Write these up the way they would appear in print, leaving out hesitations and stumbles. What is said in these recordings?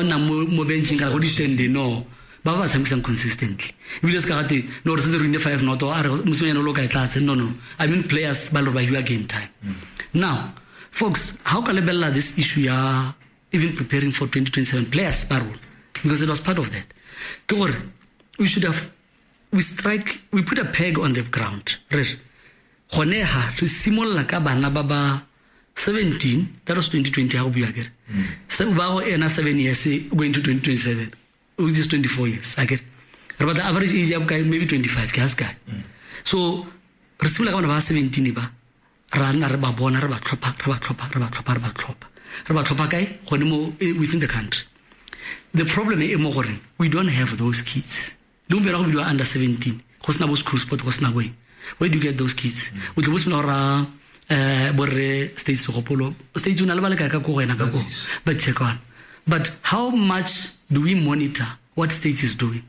nnang mo benching kana go di-standing, no, ba ba tshamekisang consistently. Ebile se ka gate no, re setse re win five nought, a re mosimanyana o le o ka e tlatse. No, I mean players ba le gore ba hiwa game time. Now, folks, how ka lebelela this issue ya even preparing for 2027 players ba rona, because it was part of that, ke gore we should have we strike we put a peg on the ground. Re re gone ha re simolola ka bana ba ba 17. That was 2020 ha go bua kere se ba go ena 7 years going to 2027, which is 24 years akere. Re batla average age ya bokae? Maybe 25 ke ha se kae. So re simolola ka bana ba 17 ba ra nna re ba bona, re ba tlhopha, re ba tlhopha, re ba tlhopha, re ba tlhopha, re ba tlhopha kae? Gone mo within the country. The problem e mo goreng we don't have those kids. Le gompieno go bidiwa under 17, go sena bo school sport, go sena bo eng. Where do you get those kids? O tle bo simolola go raya borre State Segopolo State o na le ba le kae ka ko go wena ka ko ba tshekwana? But how much do we monitor what State is doing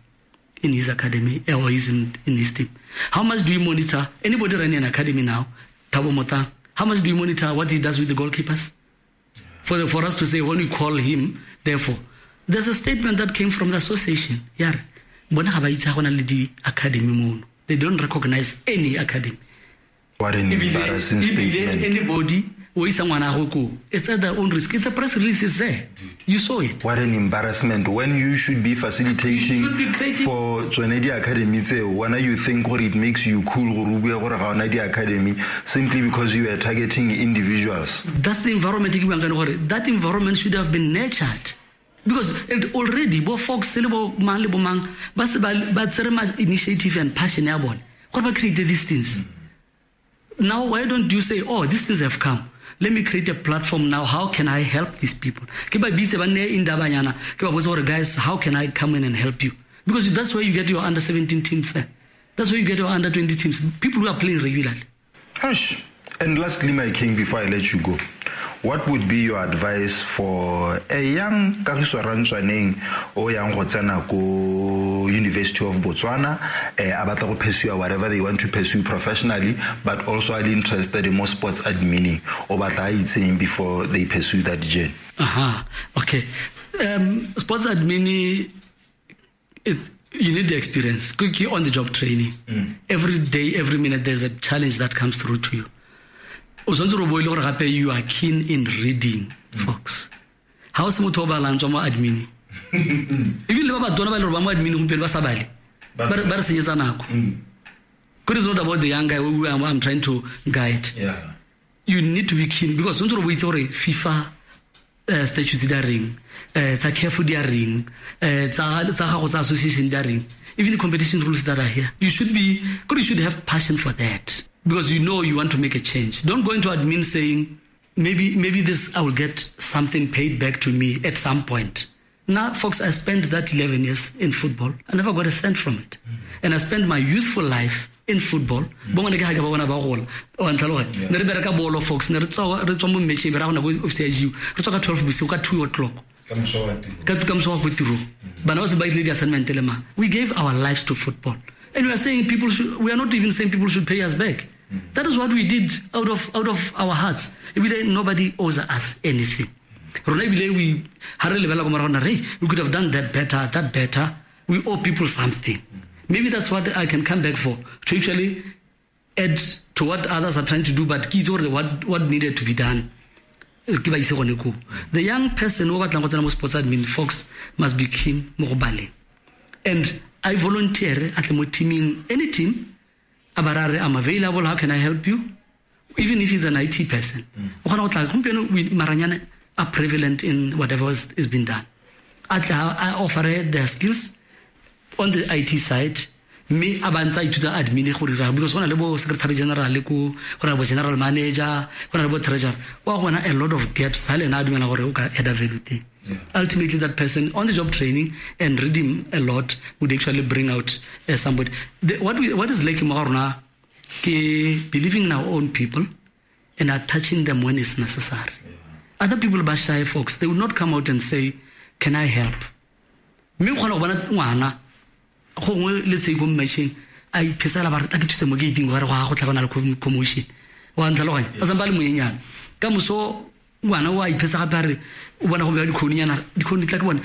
in his academy or is in his team? How much do you monitor anybody running an academy now? Thabo Motang, how much do you monitor what he does with the goalkeepers? For us to say when we call him, therefore, there's a statement that came from the association. Ya re, bona ga ba itse ga go na le di-academy mono. They don't recognize any academy. What an embarrassing Ebile statement. Anybody o isa ngwana gagwe koo, it's at their own risk. It's a press release, it's there. You saw it. What an embarrassment when you should be facilitating You should be creating- for tsone di-academy tseo. Wena you think gore it makes you cool gore o bue gore ga ona di-academy simply because you are targeting individuals. That's the environment e ke buang ka yone gore that environment should have been nurtured, because it already bo Fox le bo mang le bo mang ba se ba tsere ma initiative and passion ya bone gore ba create these things. Now, why don't you say, "Oh, these things have come, let me create a platform now. How can I help these people?" Ke ba bitse, ba nne indabanyana, ke ba botse gore, "Guys, how can I come in and help you?" Because that's where you get your under 17 teams, eh? That's where you get your under 20 teams, people who are playing regularly. Hush. And lastly, my king, before I let you go, what would be your advice for a young Kagiso Rantswaneng o yang go tsena ko University of Botswana, a batla go pursue whatever they want to pursue professionally, but also are interested in more sports admin? O batla a itseng before they pursue that journey? Aha, okay. Sports admin, it's you need the experience. Quickly on the job training. Every day, every minute, there's a challenge that comes through to you. O tshwanetse gore o bo e le gore gape you are keen in reading, folks. Ha o se motho o balang, tswa mo admin. Even le ba batona ba e le gore ba mo admin gompieno ba sa bale, ba re senyetsa nako. Kore it's not about the young guy who I'm trying to guide. You need to be keen because tshwanetse gore o itse gore FIFA statutes di a reng, tsa CAF di a reng, tsa gago tsa association di a reng, even the competition rules that are here. You should be you should have passion for that because you know you want to make a change. Don't go into admin saying maybe this I will get something paid back to me at some point. Now, folks, I spent that 11 years in football. I never got a cent from it. And I spent my youthful life in football. Bo ngwane ke ha ke ba bona ba gola. Wa ntlhaloganya? Ne re bereka bolo, folks. Ne re tswa mo matcheng, be ra gona ko office ya GU. Re tswa ka 12 bosigo, ka 2 o'clock. Ka moso wa tiro. Ka moso wa ko tirong. Bana ba se ba ile di-assignment le mang. We gave our lives to football. And we are saying people should, we are not even saying people should pay us back. That is what we did out of our hearts. Ebile nobody owes us anything. Rona ebile we ha re lebela ko morago na re we could have done that better, that better. We owe people something. Maybe that's what I can come back for, to actually add to what others are trying to do, but ke itse gore what needed to be done. Ke ba ise gone koo. The young person o batlang go tsena mo sports admin, folks, must be keen mo go baleng. And I volunteer at mo teaming, any team, a ba ra re, "I'm available, how can I help you?" Even if he's an IT person. O kgona go tla gompieno maranyane are prevalent in whatever is being done. A tla a offer their skills on the IT side, mme a ba ntse a ithuta admin go dira, because go na le bo secretary general ko, go na le bo general manager, go na le bo treasurer. Wa go bona a lot of gaps ha le ena a dumela gore o ka add value teng. Ultimately, that person on the job training and reading a lot would actually bring out somebody. What is lacking mo ga rona ke believing in our own people and attaching them when it's necessary. Other people ba shy, folks. They will not come out and say, "Can I help?" Mme o kgona go bona ngwana gongwe le tse ko matcheng a iphesela ba re tla ke thuse mo gating ba re go ga go tla go na le commotion. Wa ntlhaloganya? A sampa a le monyenyane. Ka moso ngwana o a iphesa gape a re o bona go bewa dikhoninyana, dikhoni tla ke bone.